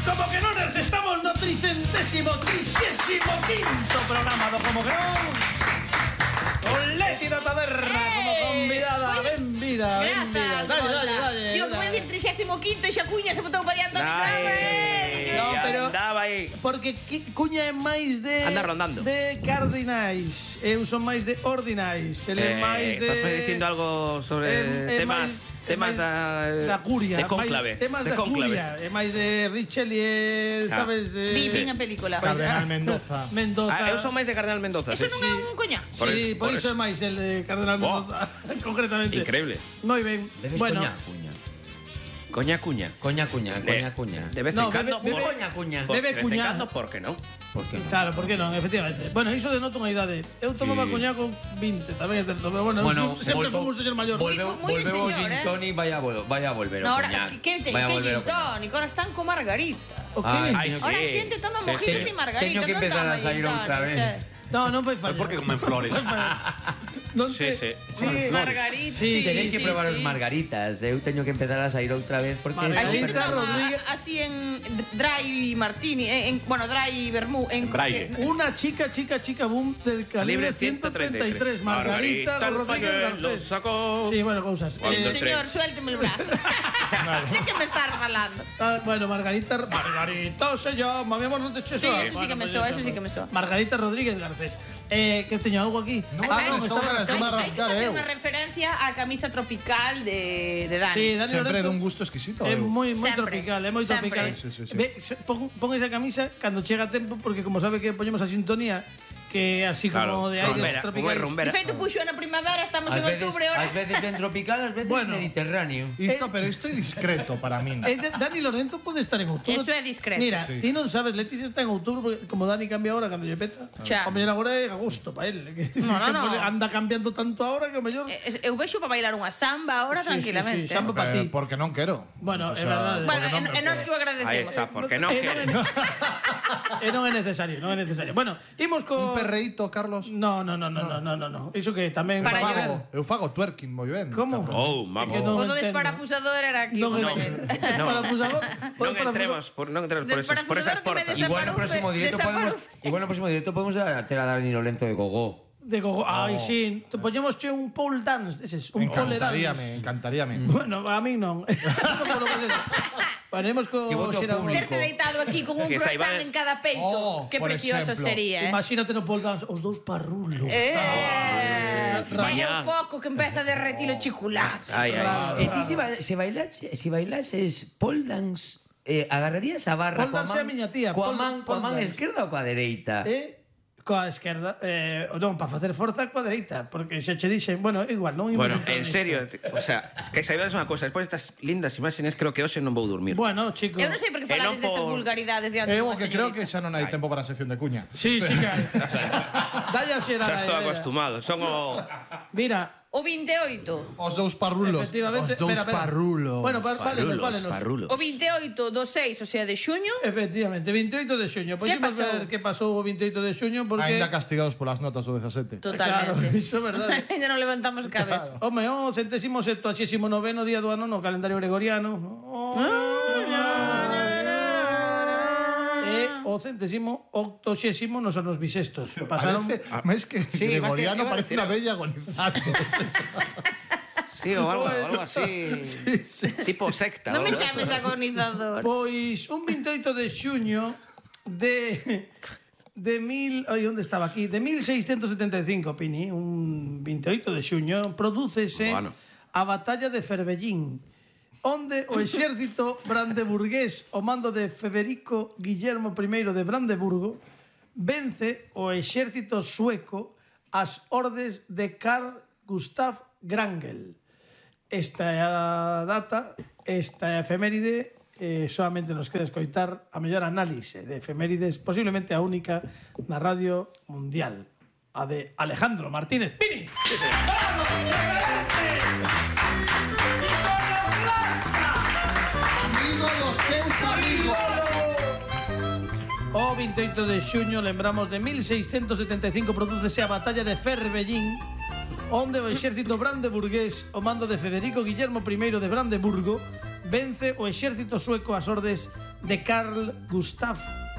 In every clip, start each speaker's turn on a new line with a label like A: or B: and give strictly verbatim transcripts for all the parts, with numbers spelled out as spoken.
A: Como que non, estamos no tricentésimo, trixésimo quinto programa do Como que non. Con Leti da Taberna como convidada. Ben vida, ben vida. Dale, dale, dale.
B: Digo que voy a decir trixésimo quinto e xa Cuña se botou variando a micrófono.
A: No, pero
C: andaba aí.
A: Porque Cuña é máis de
C: anda rondando.
A: De cardinais. Eu son máis de ordinais. Ele é
C: Eh,
A: máis de
C: Estás me dicindo algo sobre
A: é- é
C: temas
A: máis-
C: temas
A: máis
C: da
A: da curia,
C: de cónclave,
A: máis temas
C: de
A: da
C: cónclave.
A: curia, é máis de Richelieu,
C: Ah.
A: sabes de
B: Vi, vi a película.
D: Cardenal Mendoza.
A: Mendoza.
C: Ah, eu son máis de Cardenal Mendoza.
B: Eso
C: sí.
B: non é un coña.
C: Por
A: Sí,
C: eso,
A: por
C: por
A: iso é
C: eso.
A: máis el de Cardenal
C: Oh.
A: Mendoza, concretamente.
C: Increíble.
A: Moi ben.
E: Debes
A: Bueno,
E: coña, cuña.
C: Coña cuña.
E: Coña, cuña, coña, cuña.
C: De vez
A: No,
C: en cando
A: bebe-
C: por-
A: bebe-
E: Coña, cuña.
C: por-
A: bebe
C: de vez en
A: cuña.
C: cando, por que non?
E: ¿Por qué no?
A: claro, por que non, efectivamente. Bueno, iso denoto unha idade. Eu tomaba
E: Sí.
A: coña con vinte, tamén é certo, pero bueno,
E: Bueno,
A: eu sempre
E: volvo-
A: fui un señor maior.
E: Volveu,
B: Moi de
E: volveu o
B: señor,
E: gin
B: eh.
E: tonic, vaya, a vol- vaya a volver o
B: No, ahora,
E: coñac.
B: que que
E: Vaya a
B: que
E: volver
B: gin
E: o coñac.
B: tonic, ahora están con margarita.
A: O que?
E: Ay,
C: Ay,
B: Ahora a
C: sí.
B: xente toma
C: Sí,
B: mojitos
C: sí.
B: e margaritas,
E: Teño que
B: non
E: empezar
B: toma
E: a salir
B: gin
E: outra
B: tonics,
E: vez.
B: eh.
A: No, non fai fallo.
F: ¿Por qué comen flores?
A: Non
C: Sí,
A: te-
C: sí.
B: Sí, margarita,
A: Sí,
B: sí,
E: Tenéis
B: sí,
E: que probar
B: sí.
E: os margaritas. Eu teño que empezar a sair outra vez porque
B: A
A: Margarita
B: xente
E: Perdón.
B: toma
A: Rodríguez.
B: a- así en dry martini, en, en- bueno, dry vermú, en
F: Braille.
B: que-
A: Una chica, chica, chica boom del calibre
C: Libre
A: ciento treinta y tres.
C: ciento treinta y tres.
A: Margarita
C: Margarita, el
A: Rodríguez
C: pañuelo
A: Garcés.
C: sacó.
A: Sí, bueno, cousas.
C: Cuando
A: Eh,
C: entre-
B: Señor, suélteme el brazo. ¿De qué me estás falando?
A: ah, bueno, Margarita. Margarita se llama, mi amor, no te eches
B: Sí, eso sí que me soa, eso sí que me soa.
A: Margarita Rodríguez Garcés. Eh, que teño algo aquí.
D: No,
A: ah,
D: no,
A: non,
D: estou
A: estaba
D: a- estou a
B: Hai que
D: rascar,
B: facer
D: eu.
B: unha referencia á camisa tropical de, de Dani.
A: Sí, Dani
D: Sempre
A: Lorenzo
D: dun gusto exquisito.
A: É
D: eu.
A: moi moi
B: Sempre,
A: tropical, é moi
B: sempre.
A: tropical.
D: Sí, sí, sí.
A: Ve, se- pon, pon esa camisa cando chega a tempo porque como sabe que poñemos a sintonía que é así como
C: Claro,
A: de aires
C: rumbera, como é
A: tropicales.
C: rumbera.
B: De feito, puxo na primavera, estamos
E: Ás
B: en
E: veces,
B: outubro ahora.
E: ás veces ben tropical, ás veces
A: Bueno.
E: mediterráneo.
D: Isto, pero isto é discreto para min.
A: Eh, de- Dani Lorenzo pode estar en outubro.
B: Eso é discreto.
A: Mira,
D: Sí.
A: ti non sabes, Leticia está en outubro porque como Dani cambia ahora cando lle peta.
B: Xa.
A: O mellor agora é agosto para él. Que,
B: No, no,
A: que
B: no.
A: pone- anda cambiando tanto ahora que o mellor.
B: Eh, Eu vexo para bailar unha samba ahora
A: Sí, sí,
B: tranquilamente.
A: sí, samba pa
D: Eh,
A: ti.
D: porque non quero.
A: Bueno,
D: O
A: é verdade.
B: Bueno,
D: porque non
B: e
D: me
B: nós
D: puedo.
B: que o agradecemos.
C: Ahí está, porque no
A: Eh,
C: quiere.
A: non é- eh, non é necesario, non é necesario. Bueno, imos co
D: Un perreíto, Carlos.
A: No, no, no, no, no, no, no, no. Iso que tamén
B: Para
A: para
B: llorar.
D: Fago, eu fago twerking moi ben.
A: Como?
C: Oh,
A: É
C: vamos.
A: que non
B: O do
A: entendo.
B: desparafusador era aquí.
A: Non,
B: un
A: non.
B: compañero.
A: Desparafusador.
C: Non entremos por, non entremos por esas, por esas
B: Desparafusador que me
C: portas.
B: des-
E: Igual no próximo directo podemos,
B: desaparufe.
E: igual no próximo directo podemos ter a Dani Lorenzo de Gogó.
A: De gogo. Ai, sí. Te poñemos che un pole dance, deses, un pole
D: Encantaríame,
A: dance.
D: encantaríame.
A: Bueno, a mí non. Polo que des. Ponemos co
E: Que voto
A: xera-
E: público.
B: Terte deitado aquí con un
C: Que
B: croissant
C: saibades-
B: en cada peito.
D: Oh,
B: que
D: por
B: precioso
D: exemplo.
B: sería, eh.
A: Imagínate no pole dance os dous parrulos.
B: Eh, é
C: Mañá.
B: o foco que empeza a derretir o chocolate.
C: Ai, ai.
E: E ti se, ba- se bailases, se bailases pole dance, eh, agarrarías a barra
A: Pole dance é a miña tía,
E: coa
A: pole-
E: man, coa
A: pole
E: man
A: dance.
E: esquerda ou coa dereita?
A: Eh, coa esquerda, eh, non, para facer forza coa dereita, porque xa che dixen, bueno, igual, non imos
C: Bueno,
A: entrar
C: en
A: nisto.
C: serio, o sea, es que saibades unha cosa, despois destas lindas imágenes creo que hoxe non vou dormir.
A: Bueno, chico.
B: Eu non sei por que
C: E
B: falades
C: non
B: destas
C: por-
B: vulgaridades diante
D: Eu o
B: dunha
D: que creo que
B: señorita.
D: xa non hai tempo para a sección de cuña.
A: Sí, sí que hai. Dalla xera.
C: Xa estou acostumado, son o
A: Mira,
B: O veintioito.
D: Os dous parrulos.
A: efectivamente,
D: Os dous
A: espera, espera.
D: parrulos.
A: Bueno, pa, valenos,
C: parrulos,
A: valenos.
C: parrulos.
B: O veintioito do seis, o sea, de xuño.
A: Efectivamente, veintioito de xuño. Pois
B: Que
A: imos
B: pasou?
A: ver que pasou o veintioito de xuño porque
D: Ainda castigados polas notas do dezasete.
A: Claro,
B: Totalmente.
A: iso é verdade.
B: Ainda non levantamos cabeza.
A: Home, o centésimo septuagésimo noveno día do ano no calendario gregoriano. Oh, e o centésimo octoxésimo nos anos bisestos. Pasaron
D: Parece, máis que
C: Sí, máis que-
D: gregoriano,
C: iba a
D: parece
C: decir
D: unha
C: algo.
D: bella agonizante.
C: Sí, o algo, algo así. Tipo secta.
B: Non me
C: o algo
B: chames agonizador.
A: Pois un veintioito de xuño de de mil, oi, onde estaba aquí? De mil seiscentos setenta e cinco, Pini, un veintioito de xuño, prodúcese
C: Bueno.
A: a batalla de Ferbellín, onde o exército brandeburgués ao mando de Federico Guillermo I de Brandeburgo vence o exército sueco as ordes de Carl Gustav Wrangel. Esta é a data, esta é a efeméride, eh, solamente nos queda escoitar a mellor análise de efemérides, posiblemente a única na radio mundial, a de Alejandro Martínez Pini.
D: Amigo dos teus amigos.
A: O veintioito de xuño, lembramos, de mil seiscentos setenta e cinco prodúcese a batalla de Ferbellín, onde o exército brandeburgués, o mando de Federico Guillermo I de Brandeburgo, vence o exército sueco ás ordes de Carl Gustav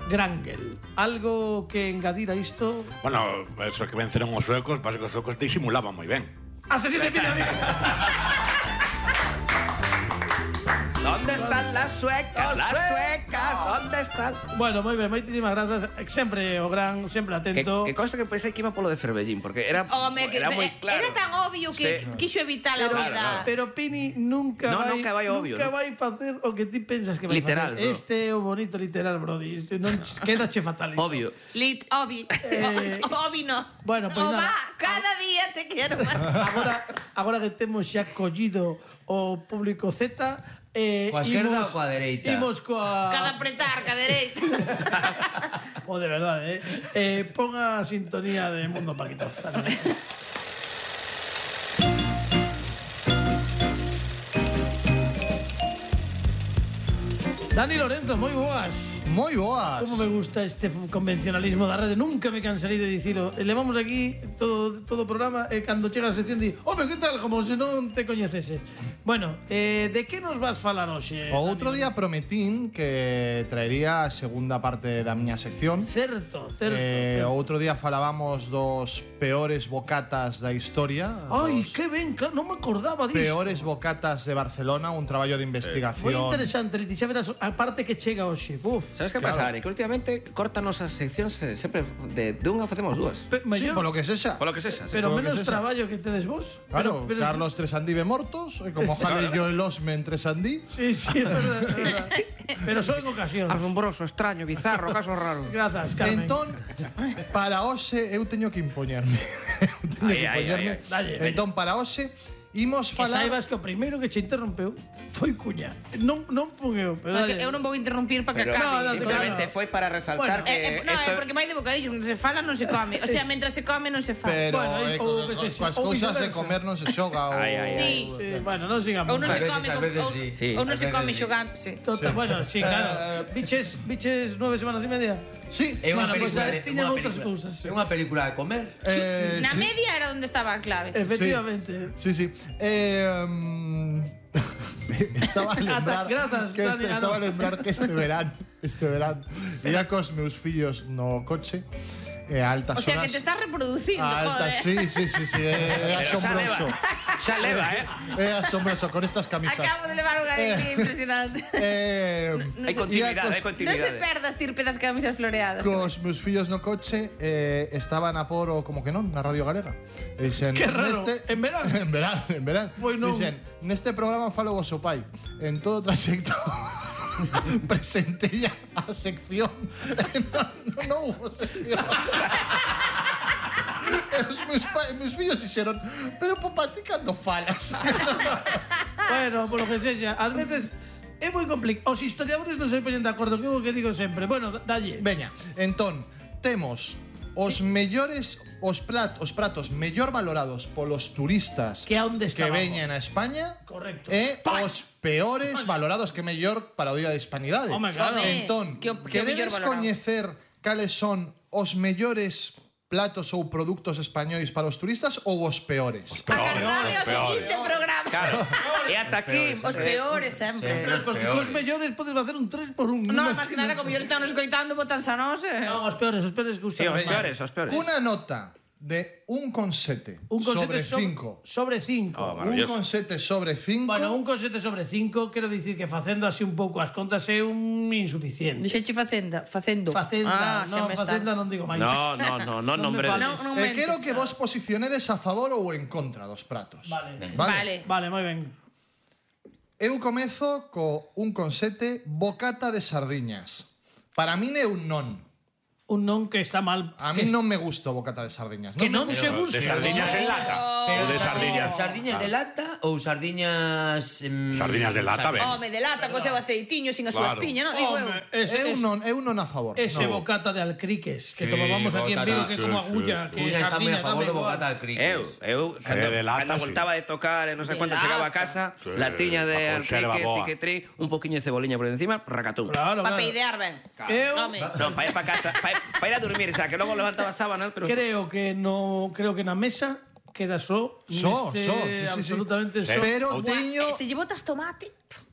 A: Wrangel. Algo que engadir a isto?
F: Bueno, eso que venceron os suecos, pasa que os suecos disimulaban moi ben.
A: A sección de Pina Amiga.
C: ¿Dónde están las suecas?
A: Las
C: Las suecas, ¿dónde están?
A: Bueno, moi ben, moitísimas grazas. Sempre o gran, sempre
C: Que,
A: atento.
C: que cosa que pensei que iba polo de Ferbellín, porque era,
B: Home, que
C: era moi claro.
B: era tan obvio que
C: Sí.
B: quiso evitar a
C: Claro,
B: vida.
C: claro.
A: Pero Pini nunca
C: No,
A: vai,
C: nunca vai obvio,
A: nunca
C: ¿no?
A: vai facer o que ti pensas que vai
C: Literal,
A: facer.
C: bro.
A: Este é o bonito literal, brody. Este non quedache fatal iso.
C: Obvio.
B: Lit, obi.
A: Eh,
B: Obi no.
A: bueno, pues
B: O
A: nada.
B: va, cada día te quiero más.
A: Agora, agora que temos xa collido o público Z, eh,
E: Coa esquerda
A: imos-
E: ou coa dereita?
A: Imos coa...
B: Cada apretar, cada dereita.
A: O de verdade, eh? eh pon a sintonía de Mundo Paquito. Dani Lorenzo, moi boas.
D: Moi boas.
A: Como me gusta este convencionalismo da rede. Nunca me cansarei de dicilo. Levamos aquí todo todo o programa e cando chega a sección di, "Home, que tal?", como se non te coñeceses. Bueno, eh, de que nos vas falar hoxe?
D: O outro día prometín que traería a segunda parte da miña sección.
A: Certo, certo.
D: Eh,
A: certo.
D: o outro día falábamos dos peores bocatas da historia.
A: Ai,
D: dos
A: que ben, claro, non me acordaba disto.
D: peores bocatas de Barcelona, un traballo de
A: Moi
D: investigación.
A: interesante, Leti, xa verás a parte que chega hoxe. Uf.
C: Sabes que
D: Claro.
C: pasa, Dani? Que últimamente cortanos as seccións eh, sempre de, de unha facemos dúas.
A: Pe,
D: Sí,
A: mellor,
D: polo que sexa.
C: Polo que sexa.
A: pero
D: polo que
A: menos
D: sexa.
A: traballo que tedes vos.
D: Claro,
A: pero, pero
D: Carlos Tresandí ve mortos, e como jale yo el osme en Tresandí.
A: Sí, sí, es verdad, es verdad. Pero só en ocasión.
C: Asombroso, extraño, bizarro, caso raro.
A: Grazas, Carmen.
D: Entón, para hoxe eu teño que impoñerme. eu teño
C: Ai,
D: que
C: ai,
D: impoñerme.
C: ai, ai.
A: Dalle, veña.
D: Entón, para hoxe imos
A: Que
D: falar.
A: saibas que o primeiro que che interrompeu foi Cuña. Non, non fun eu, pero
B: No, que
A: dalle.
B: eu non vou interrumpir para que
C: Pero
A: No, no,
B: acabe.
C: simplemente
A: claro.
C: foi para resaltar
A: Bueno,
C: que
B: Eh, eh, no,
C: esto...
B: é porque vai de bocadillo, onde se fala non se come. O sea, mentre se come non se fala.
D: Pero
A: Bueno,
D: eh,
A: ou
D: co-
A: viceversa,
D: coas
A: ou
D: cousas de
A: viceversa.
D: comer non se xoga. ou-
C: Ai, ai, ai.
B: Sí.
A: Sí, bueno, non sigamos.
B: Ou non
E: A
B: se
E: veces,
B: come
E: a
B: con-
E: veces
B: ou-
E: sí.
C: Sí.
B: ou non
E: A
B: se
E: veces
B: come
E: sí.
B: xogando, sí.
A: Tota, bueno, sí, claro.
D: Eh,
A: Biches, biches nueve semanas e media.
D: Sí,
E: É unha
A: Bueno, pues,
E: película,
A: eh,
E: de-
A: tiñan
E: unha
A: outras
E: película.
A: cousas.
E: É unha película de comer.
D: eh,
B: Na
D: sí.
B: media era onde estaba a clave.
A: Efectivamente.
D: Sí, sí. Eh, mm, estaba a lembrar
A: Grazas,
D: que este,
A: Dani, ah,
D: estaba a
A: no.
D: lembrar que este verán, este verán, ia cos meus fillos no coche e a altas
B: O sea,
D: horas.
B: que te estás reproducindo,
D: a altas,
B: joder.
D: sí, sí, sí, sí, é, é
C: Pero xa leva,
D: asombroso.
C: xa leva, eh?
D: É asombroso con estas camisas.
B: Acabo de levar unha alegría impresionante.
D: Eh,
C: Hai continuidade,
D: Ia
C: hai
D: cos-
B: Non se
C: continuidade.
B: perda estirpe das camisas floreadas.
D: Cos meus fillos no coche eh, estaban a por o como que non na Radio Galega. E dixen,
A: Que raro, en verán.
D: en verán, en verán.
A: Pois non.
D: Dixen, neste programa falo vosso pai. En todo o trayecto presentei a sección. non, non, non hubo sección. E os meus, pa, meus fillos dixeron, pero papá, ti cando falas?
A: Bueno, por lo que sexa, ás veces é moi complicado. Os historiadores non se poñen de acordo, que é o que digo sempre. Bueno, dalle.
D: Veña, entón, temos os mellores os plat, os pratos mellor valorados polos turistas
A: Que a onde
D: que
A: estábamos.
D: veñen a España
A: Correcto.
D: e
A: España.
D: os peores valorados que mellor para o Día de Hispanidade.
A: Home, claro.
D: Entón,
B: Que o- que o mellor
D: queredes
B: valorado.
D: coñecer cales son os mellores platos ou produtos españois para os turistas ou os peores?
B: Agardade ao seguinte programa.
C: Claro. E ata aquí...
B: Os peores sempre.
A: Pero porque cos mellores podes facer un tres por un.
B: No, máis que nada, como yo están escoitando, botanse a nós. eh.
A: No, os peores, os peores que
C: Sí,
A: gustan.
C: os peores, os peores.
D: Una nota de un con sete
A: Un con
D: sobre
A: sete sobre-
D: cinco.
A: Sobre cinco.
C: Oh,
D: Un
C: maravilloso.
D: con sete sobre cinco.
A: Bueno, un con sete sobre cinco, quero dicir que facendo así un pouco as contas é un insuficiente.
B: Dixeche facenda, facendo.
A: Facenda,
B: Ah, xa
A: non,
B: me está.
A: facenda non digo máis.
C: No, no, no, no
A: Non me
C: nombre
A: fales.
B: Non, non
D: Eh,
B: mentes.
D: quero que vos posicionedes a favor ou en contra dos pratos.
A: Vale.
B: Vale.
A: Vale, moi ben.
D: Eu comezo co un con sete bocata de sardiñas. Para min é un non.
A: Un non que está mal.
D: A
A: que
D: mí non me gusta o bocata de sardiñas.
A: Que
D: me
A: non
D: gusta.
A: se gusta.
F: De sardiñas en lata.
E: Pero
F: O de sardiñas.
E: Sardiñas de lata ou sardiñas... em,
F: Sardiñas de lata, ben.
B: Home, de lata, co seu aceitiño, sin a súa
F: Claro.
B: espiña, non? Digo eu.
A: Home, ese,
D: É un
A: ese,
D: non, é un non a favor.
A: ese
D: No.
A: bocata de alcriques que
E: Sí,
A: tomábamos aquí en
E: bocata.
A: Vigo, que é como
F: Sí,
A: agulla,
F: sí,
A: que
E: Cuña está moi
A: sardina,
E: a favor
A: dame
E: do
A: igual.
E: bocata al cricket.
C: Eu, eu, cando,
F: de lata,
C: cando
F: sí.
C: voltaba de tocar e non sei
B: De
C: cuánto chegaba a
B: lata.
C: casa,
F: Sí,
C: latiña de
F: a conserva
C: alquique,
F: boa.
C: tiquetrí, un poquinho de ceboliña por encima, racatún.
A: Claro,
B: Pa
A: claro.
B: peidear ben.
A: Eu
B: Home.
C: No, para ir para casa, para ir, pa ir a dormir, o sea, que logo levantaba sábanas, pero...
A: creo que no, creo que na mesa queda só,
D: Só,
A: neste
D: só, sí, sí, sí.
A: absolutamente só.
D: Pero
F: Outra-
D: teño
B: E se lle botas tomate...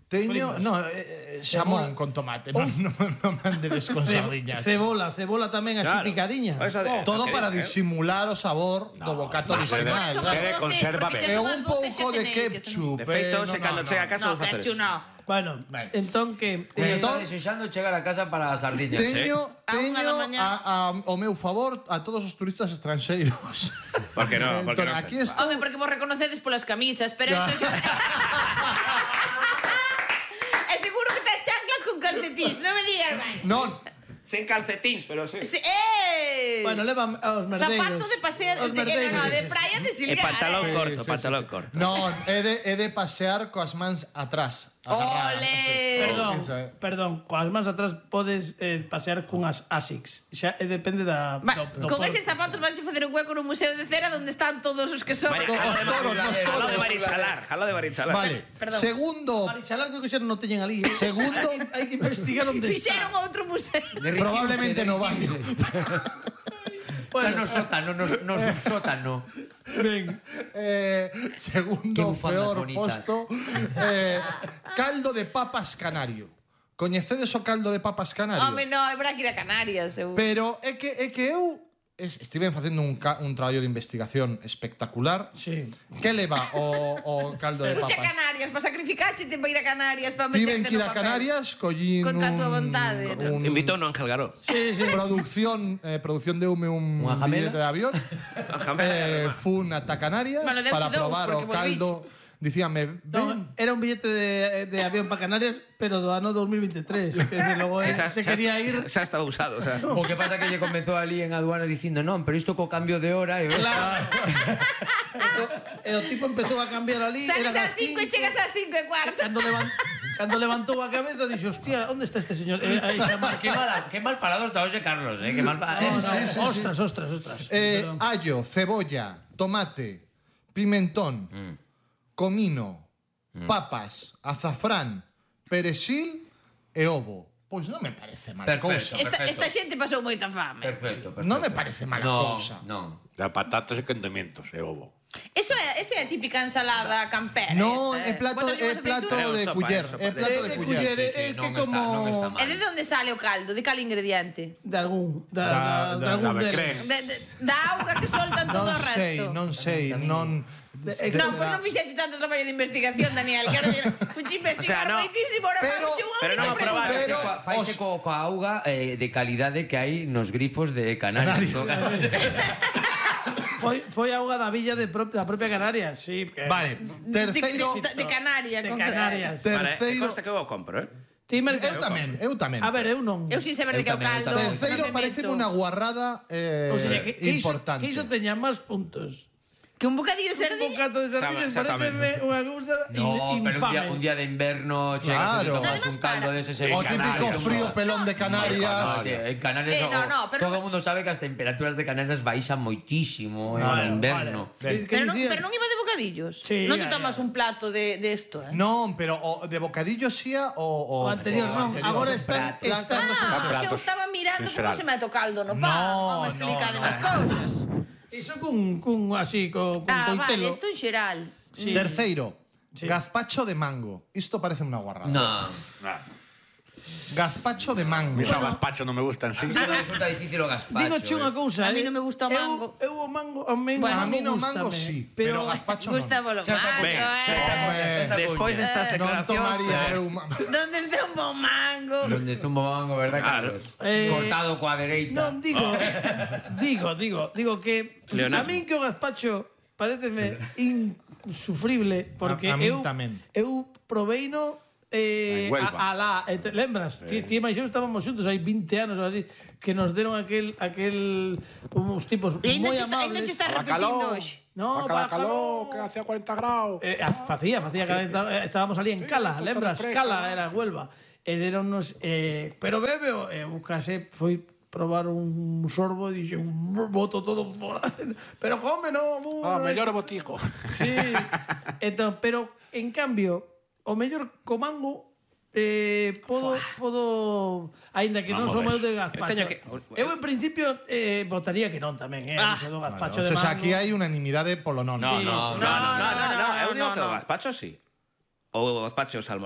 D: Teño,
A: Flipas.
D: no, eh, xamón con tomate, non no, no me andedes con
A: Ce-
D: sardiñas.
A: Cebola, cebola tamén así
C: Claro.
A: picadiña.
C: Eso de-
D: Todo
C: ¿qué
D: para
C: dices, eh?
D: disimular o sabor do bocato original.
F: Ser-
D: claro.
F: ser- conserva ben.
D: E un pouco de ketchup.
C: De feito,
D: eh,
C: se
D: no,
C: cando
D: no,
C: chega a
D: no.
C: casa
B: No,
C: vos facedes.
B: ketchup no.
A: Bueno,
D: Ben.
A: entón que...
E: Ella
A: eh,
E: está
D: Entón-
E: desexando chegar a casa para as sardiñas. eh?
D: Teño,
B: A unha
D: teño
B: da mañá.
D: a, a, o meu favor a todos os turistas estranxeiros.
C: Por que no? Por que
D: Entón,
C: non
D: aquí
C: sei?
D: estou...
B: Home, porque vos reconocedes polas camisas, pero
D: Ya.
B: eso xa... E seguro que tes chanclas con calcetís, non me digas máis.
D: Non,
C: Sen calcetins, pero sí.
B: Sí, eh!
A: Bueno, levan aos merdeiros.
B: Zapato de pasear,
A: Os
B: de, de, no,
A: merdeiros.
B: de praia de
C: E
B: silgar.
C: pantalón
B: eh.
C: corto, pantalón corto.
D: Non, é de, é de pasear coas mans atrás. agarradas,
B: Ole.
D: así.
A: Perdón,
D: Eso é.
A: perdón, coas mans atrás podes eh, pasear cunhas Asics. Xa eh, depende da...
B: Va,
A: do, do
B: con
A: porte.
B: eses zapatos vanche facer un hueco no museo de cera onde están todos os que son.
C: Vale,
D: Todos,
C: jalo de
D: todos,
C: Barichalar,
D: todos,
C: jalo de
D: todos.
C: Barichalar, jalo de Barichalar.
D: Vale,
B: Perdón.
D: segundo,
A: Marichalar creo que xa non o teñen ali. Eh.
D: Segundo-
A: hai que investigar onde
B: Fixeron
A: está.
B: outro museo.
E: Derritiuse,
D: probablemente no baño.
E: derritiuse. Está no sótano, no, no subsótano.
A: Ben,
D: Eh,
E: Qué
D: segundo
E: bufandas
D: peor
E: bonitas.
D: posto, eh, caldo de papas canario. Coñecedes o caldo de papas canario?
B: Home, no, é para que ir a Canarias. Eu...
D: Pero é que, é que eu es- estiven facendo un, ca, un traballo de investigación espectacular.
A: sí.
D: Que leva o, o caldo de
B: Fuche a
D: papas?
B: Canarias, para sacrificache te para ir a Canarias para
D: Tiven
B: meterte
D: que ir
B: no
D: a
B: papel.
D: Canarias, collín
B: Contra a tua
D: un,
B: vontade, ¿no?
D: un
C: Invitó no Ángel Garó.
A: Sí, sí.
D: producción, eh, producción deume un
E: Unha jamela?
D: billete de avión. eh, fun ata Canarias
B: Bueno, deuche
D: para
B: dous,
D: probar o
B: porque
D: caldo. Dicíame,
A: No,
D: ven,
A: era un billete de, de avión para Canarias, pero do ano dos mil veintitrés. Que desde logo eh,
C: Esa,
A: se quería ir...
C: Xa estaba usado, o sea.
E: O que pasa que lle comenzou ali en aduanas dicindo non, pero isto co cambio de hora e
A: Claro. e o tipo empezou a cambiar ali.
B: Sales
A: eran
B: ás cinco e chegas ás cinco e cuarto.
A: Cando, levan, cando levantou a cabeza, dixo, hostia, onde está este señor? Eh, aí xa
E: Qué mal, qué mal parado está hoxe Carlos, eh, qué mal parado.
D: Sí,
A: No,
D: sí, sí, sí.
A: ostras, ostras, ostras.
D: eh,
A: Perdón.
D: allo, cebolla, tomate, pimentón, comino, papas, azafrán, perexil e ovo. Pois non me parece mala
E: Perfecto.
D: cousa.
B: Esta,
E: Perfecto.
B: esta xente pasou moita fame.
E: Perfecto, perfecto.
D: Non me parece mala
E: no,
D: cousa.
E: Non.
F: Da patatas e condimentos e ovo.
B: Eso é, eso é a típica ensalada campera.
D: No,
B: esta,
D: é
B: eh.
D: plato,
B: Botas
D: é
B: unhas
D: plato
B: aceitunas.
D: de
C: sopa,
D: culler,
C: sopa.
D: é plato
A: Eh,
D: de
A: de
D: culler.
A: culler,
E: Sí,
A: eh,
E: sí,
A: que
E: non
A: como...
E: está, non está
B: E de
E: mal.
B: onde sale o caldo? De cal ingrediente?
A: De algún, da,
D: Da-
A: da, de
D: da-
A: algún
F: da
A: deles.
F: Becrén.
B: De, de, da auga que soltan todo
D: Non
B: o resto.
D: sei, non sei, non...
A: De-
B: Non, pois non fixeche tanto traballo de investigación, Daniel. Quero dir, fuchi investigar
C: O sea, no.
B: moitísimo, ahora
D: Pero-
B: fuchi unha
C: pero
B: única
C: non
B: pregunta.
C: aprobar.
D: Pero
E: Coa- Faise
D: os-
E: co, coa auga eh, de calidade que hai nos grifos de Canarias.
A: Foi, foi a auga da villa de pro, da propia Canarias, sí. Que...
D: Vale, terceiro...
B: De, de, de Canarias.
A: De
B: con-
A: Canarias.
D: Ter-
C: Vale,
D: Terceiro-
C: consta que eu o compro, eh?
A: Ti,
D: Eu
A: Mercado.
D: tamén, eu tamén.
A: A ver, eu non.
B: Eu sin saber de
E: Eu
B: que é o
E: tamén, eu
B: caldo.
E: tamén.
D: Terceiro
B: non me
D: parece
B: meto.
D: unha guarrada eh,
A: O sea, que, que, iso,
D: importante.
A: que iso teña máis puntos.
B: Que un bocadillo de
A: Un
B: sardina.
A: bocato de sardinas
C: Exactamente.
A: parece unha cousa
E: No,
A: in-
E: pero un día,
A: infame.
E: un día de inverno chegas
D: Claro.
E: e tomas
B: Además,
E: un caldo
B: para.
E: de ese
D: O típico frío pelón de Canarias.
E: En Canarias
B: Eh, no,
E: o-
B: no, pero-
E: todo o mundo sabe que as temperaturas de Canarias baixan moitísimo en inverno.
A: Vale. Que- que
B: Pero non,
A: dicías?
B: pero non iba de bocadillos.
A: Sí,
B: non te
A: ya,
B: tomas
A: ya.
B: un plato de, de esto, eh?
D: Non, pero o de bocadillo xía o, o,
A: O anterior non,
D: anterior.
A: agora están,
E: prato.
A: están
B: Ah, que eu
F: platos
B: estaba mirando
F: sin
B: como
F: seral.
B: se mete o caldo no pan.
D: No,
B: Non me explica
D: no,
B: demais
D: no.
B: cousas.
A: Iso cun, cun así, co, con
B: Ah,
A: coitelo.
B: vale, isto en xeral.
A: Sí.
D: Terceiro,
A: Sí.
D: gazpacho de mango. Isto parece unha guarrada.
E: No.
D: Gazpacho de mango.
F: Mis bueno, gazpacho non me gustan, sí.
E: A mí me resulta difícil o gazpacho.
A: Digo che unha
E: eh.
A: cousa,
B: A mí
A: eh.
B: non me gusta o
A: Eu-
B: mango.
A: Eu, o mango, a mí,
B: Bueno,
D: a mí no
A: gústame,
D: mango sí, pero
A: pero
D: gazpacho non.
B: Gustavo lo
E: Xa está
B: mango,
E: ben,
B: eh.
E: xa está ben, xa está
C: Despois
E: ben.
C: destas
D: Non
C: declaracións...
D: tomaría
C: eh,
D: eu... ma-
B: Donde está un bon mango.
E: Donde está un mango, verdad,
C: Claro.
E: Carlos?
A: Eh,
E: Cortado coa dereita.
A: Non, digo, digo, digo, digo que
C: Leonardo.
A: a min que o gazpacho pareceme insufrible porque
D: A- a min
A: eu
D: tamén.
A: eu proveino eh,
F: En Huelva.
A: a, a la, eh, te lembras? Ti, ti e máis eu estábamos xuntos hai vinte anos ou así que nos deron aquel aquel uns tipos
B: E ainda
A: moi
B: che está, ainda
A: amables.
B: che está repetindo hoxe.
A: No,
F: Para
A: bájalo.
F: calor, que hacía cuarenta graus.
A: Eh, facía, facía que eh, estábamos ali en Cala,
F: todo
A: lembras?
F: fresco.
A: Cala era Huelva. E deronnos eh, pero bebe, e eu case foi probar un sorbo e dixen, boto todo fora. Pero come, no, bu,
F: Ah,
A: no,
F: mellor botico.
A: Sí. Entón, pero en cambio, o mellor co mango eh, podo, podo aínda que non
F: Vamos
A: son
F: ver.
A: eu de gazpacho.
C: Eu teño que-
A: Eu en principio eh, votaría que non tamén, eh,
B: Ah.
A: iso do
D: Vale,
A: gazpacho
D: o
A: de
D: sea,
A: mango.
D: aquí hai unanimidade polo non.
C: No,
A: Sí,
C: no,
A: sí.
C: no, no, no, no, no,
B: no,
C: eu digo
B: no,
C: que o
B: no.
C: gazpacho sí. Ou o gazpacho salmón.